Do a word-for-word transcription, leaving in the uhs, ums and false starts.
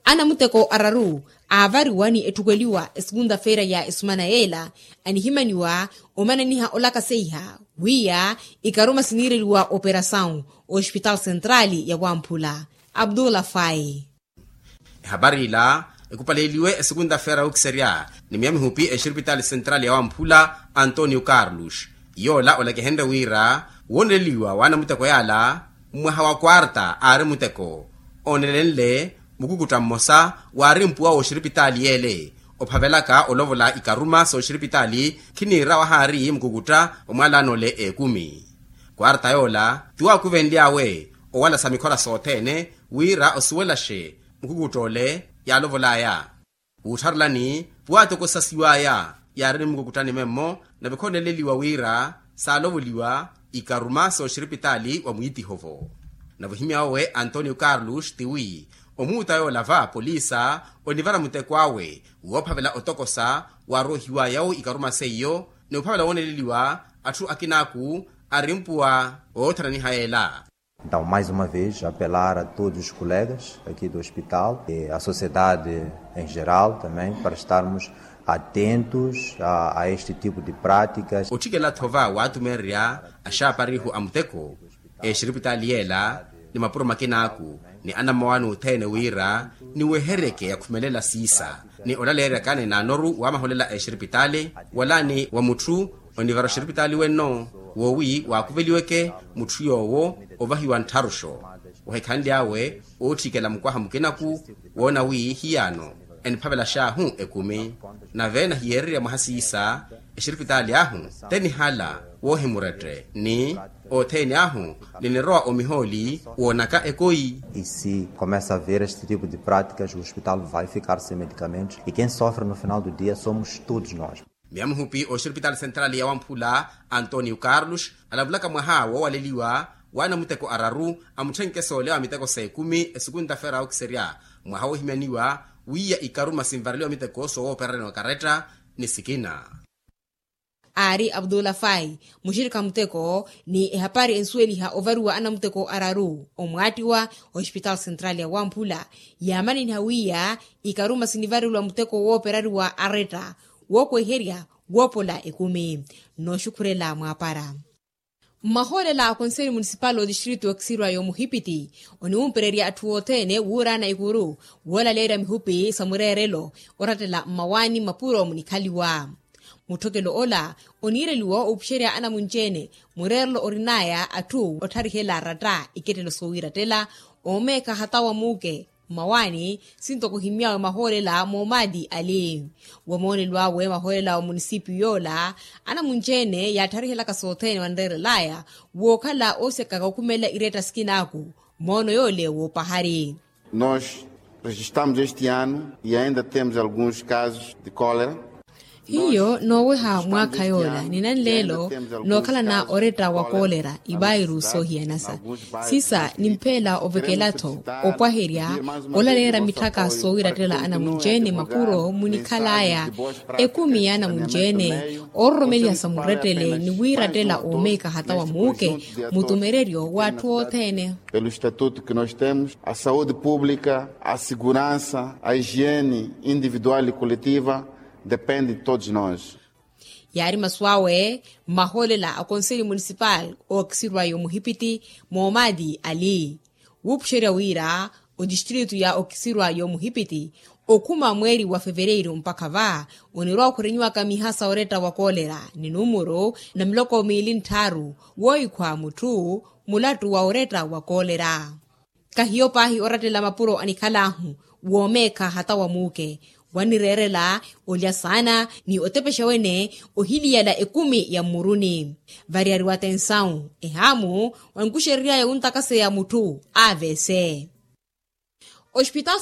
Anamuteko araru aavariwa ni etthukweliwa esukunta-feera ya esumana yeela, anihimaniwa omananiha olakaseiha wiya ikaruma siniireliwa operasawu ospitaali sentraali ya wamphula. Abdullah fai. Ehapari ila ekupaleliwe esukunta-feera ya okiserya ni miya mihupi exiripitaali sentraali ya wamphula antonio carlos. Yoola olakihenrye wira wooneleliwa w'anamuteko yaala mmwaha wa kwarta aari muteko oonelenle mukukutta mmosa waari mpuwa w'oxiripitaali yeele ophavelaka olovola ikaruma s'oxiripitaali khiniira wahaari mukukutta omwalaano ole ekumi. Kwarta yoola ti waakuvenly'awe owalasa mikhora sothene wira osuwelaxe mukukutta ole yaalovol'aya. Wuuttharelani pwaatokosasiw'aya yaari ni mukukuttani memmo nave khooleleliwa wira saalovoliwa ikaruma s'oxiripitaali wa mwiitiho-vo. Nave ohimya owe antonio carlos tiwi omuuta yoola va polisa onivara muteko awe woophavela otokosa waarohiw'aya-wo ikaruma seiyo ni ophavela wooneleliwa atthu akinaaku arimpuwa oothananiha yeela. Então mais uma vez apelar a todos os colegas aqui do hospital e a sociedade em geral também para estarmos atentos a este tipo de práticas. Otthikela-tho va waatumeererya axaaparihu a muteko exiripitaali yeela ni mapuro makinaaku ni anammawaani othene wira niweheryeke yakhumelela siisa ni olaleeryaka ni naanoru wamaholela exiripitaali wala ni wa mutthu onivara oxiripitaali wenno woowi waakuveliweke mutthu yoowo ovahiwa nttharuxo. Ohikhanly'awe ootthikela mukwaha mukinaku woona wi hiyaano eniphavelax'ahu ekumi nave nahiyeererya mwaha siisa exiripitaali ahu tenihala woohimurette ni othene ahu ninirowa omihooli woonaka ekoi. E se começa a ver este tipo de práticas o hospital vai ficar sem medicamentos e quem sofre no final do dia somos todos nós. Miya mihupi oxiripitaali sentraali ya wamphula antonio carlos alavulaka mwaha woowaleliwa w'anamuteko araru amutthenke soolewa miteko s'ekumi esukunta-feera ya okiserya mwaha woohimyaniwa wiya ikaruma sinvareliwa miteko soowoopererya ni okaretta ni sikina. Aari abdullah fai muxirikha muteko ni ehapari ensuweliha ovariwa anamuteko araru omwaattiwa ospitaali sentraali ya wamphula yaamananiha wiya ikaruma sinivareliwa muteko woopereriwa aretta wookweherya woopola ekumi. Nooxukhurela mwaapara. Mmahoolela a konseli munisipali otistritu okisirwa y'omuhipiti oniwumpererya atthu othene wuuraana ikuru woolaleerya mihupi sa mureerelo orattela mmawaani mmapuro munikhaliwa. Mutthokelo ola oniireliwa opuxerya anamunci-ene mureerelo orin'aya atthu otharihela aratta ikettelo soowiirattela oomeekha hata wa muuke mmawaani. Sintoko ohimy'awe mahoolela moomaati ali wamoonelo awe mahoolela wa munisipiyu yoola anamunci-ene yaattarihelaka sothene wanreerel'aya wookhala oosekaka okhumelela iretta sikinaaku. Moono yoole woopahari. Nós registramos este ano e ainda temos alguns casos de cólera. Hiyo nooweha mwaakha yoola ni nanleelo nookhalana oretta wa koolera ivairu soohiyanasa sisa nimpheela ovekela-tho opwaherya olaleera mitthaka soowiirattela anamunci-ene mapuro munikhal'aya ekumi y'anamunci-ene oororomeliha sa murettele ni wiirattela oomeekha hata wa muuke mutumereryo w'atthu othene. Pelo estatuto que nós temos a saúde pública a segurança a higiene individual e coletiva depende de todos nós. Yaari masu awe mmahoolela a konseli munisipali ookisirwa y'omuhipiti moomaati ali wuupuxerya wira otistritu ya okisirwa y'omuhipiti okhuma mweeri wa fevereiru mpakha va onirwa okhurenyiwaka miha sa oretta wa koolera ni numuru na miloko miili ntthaaru woohikhwa mutthu mulattu wa oretta wa koolera. Kahiyo paahi orattela mapuro anikhal'ahu woomeekha hata wa muuke wanireerela olya saana ni otepexa wene ohiliyala ekumi ya mmuruni variyariwa atensawu ehaamu onkuxerery'aya wuntakaseya mutthu avese. Ospitaal